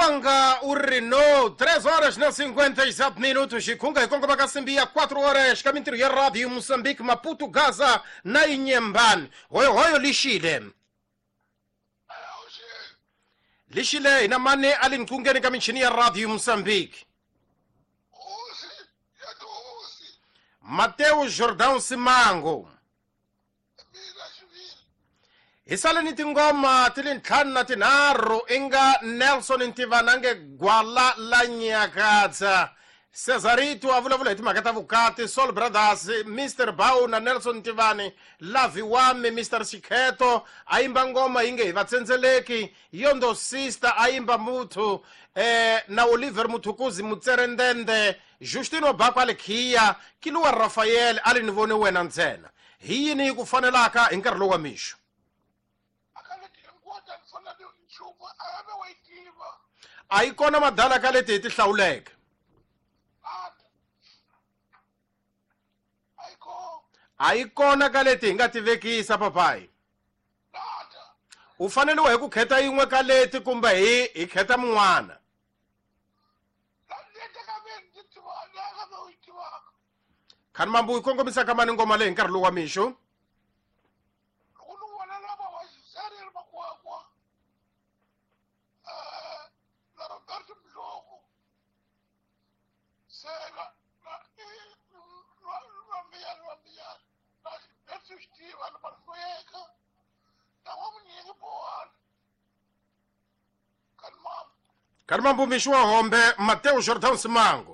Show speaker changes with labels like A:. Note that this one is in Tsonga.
A: Wanga u ri no 3 horas na 57 minutos xikhunga hi kongoma ka simbi ya 4 horas ka mintirho ya radio Mozambique Maputo Gaza na Inyembani hoyohoyo lixile lixile hina mani a li nqungeni ka michini ya radio Mozambique Mateo Jordão Simango hi sale ni tingoma ti li ntlhanu na tinharhu i nga Nelson Ntivana nge gwala la nyakatsa Cesarito a vulavula hi timhaka ta vukati Soul Brothers Mr Bow na Nelson Ntivani Lavi Wami Mr Xikheto a yimba ngoma yi nge hi vatsendzeleki Yondo Sister a yimba muthu na Oliver Muthukuzi Mutserendende Justino Bako a li khiya Kiluwa Rafael a li ni vone wena ntsena hi yini yi ku fanelaka hi nkarhi lowu wa mixo a yi kona madala ka leti hi ti hlawuleke a yi kona ka leti hi nga ti vekisa papayi u faneliwa hi ku khetha yin'we ka leti kumbe hi hi khetha mun'wana khani mambu yi kongomisa ka mani ngoma leyi hi nkarhi lowu wa mixo Kani mambu mixo wa hombe Mateo Jordan Simango.